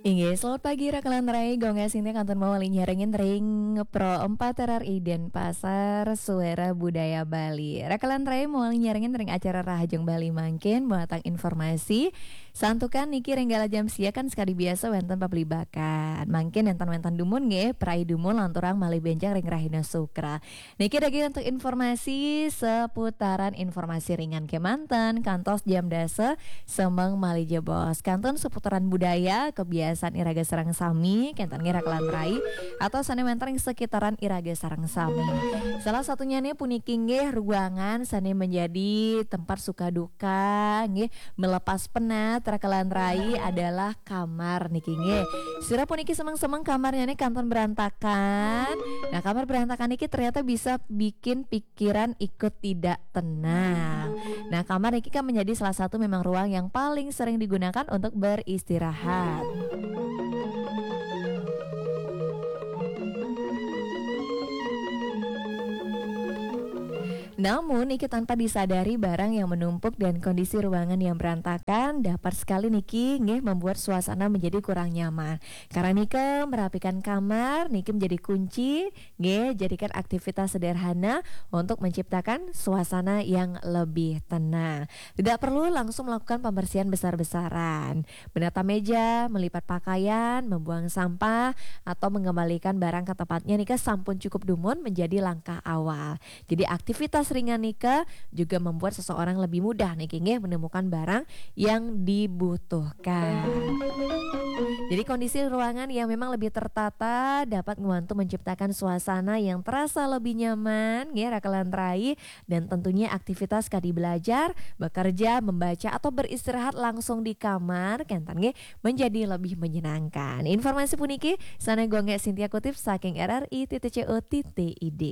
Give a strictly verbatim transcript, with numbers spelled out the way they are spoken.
Inggih, selamat pagi Raka lan Rai, Gung Gas Sintia kantun mawali nyarengin ring Pro empat R R I Denpasar, Suara Budaya Bali. Raka lan Rai mawali nyarengin ring acara Rahajeng Bali mangkin, mawatang informasi. Santukan niki ring galah jam sia kan sekadi biasa wénten pablibakan. Mangkin wénten-wénten dumun nggih, prai dumun lanturang malih bénjang ring rahina Sukra. Niki daging untuk informasi seputaran informasi ringan kémanten, kantos jam dasa semeng malih jebos. Kantun seputaran budaya, kebiasaan iraga sareng sami, kénten nggih Raka lan Rai, atau sané wénten ring sekitaran iraga sareng sami. Salah satunya nih puniki nggih ruangan sané menjadi tempat suka duka, nggih, melepas penat Raka lan Rai adalah kamar niki nggih. Sira puniki semeng-semeng kamarnya nih kantun berantakan. Nah, kamar berantakan niki ternyata bisa bikin pikiran ikut tidak tenang. Nah, kamar niki kan menjadi salah satu memang ruang yang paling sering digunakan untuk beristirahat. Namun, niki tanpa disadari barang yang menumpuk dan kondisi ruangan yang berantakan dapat sekali niki nggih membuat suasana menjadi kurang nyaman. Karena niki merapikan kamar, niki menjadi kunci, nggih, jadikan aktivitas sederhana untuk menciptakan suasana yang lebih tenang. Tidak perlu langsung melakukan pembersihan besar-besaran. Menata meja, melipat pakaian, membuang sampah, atau mengembalikan barang ke tempatnya niki sampun cukup dumun menjadi langkah awal. Jadi aktivitas ringan niki juga membuat seseorang lebih mudah niki nggih menemukan barang yang dibutuhkan. Jadi kondisi ruangan yang memang lebih tertata dapat membantu menciptakan suasana yang terasa lebih nyaman nggih Raka lan Rai, dan tentunya aktivitas kadi belajar, bekerja, membaca atau beristirahat langsung di kamar kénten nggih menjadi lebih menyenangkan. Informasi puniki sané Gung Gas Sintia kutip saking R R I titik C O titik I D.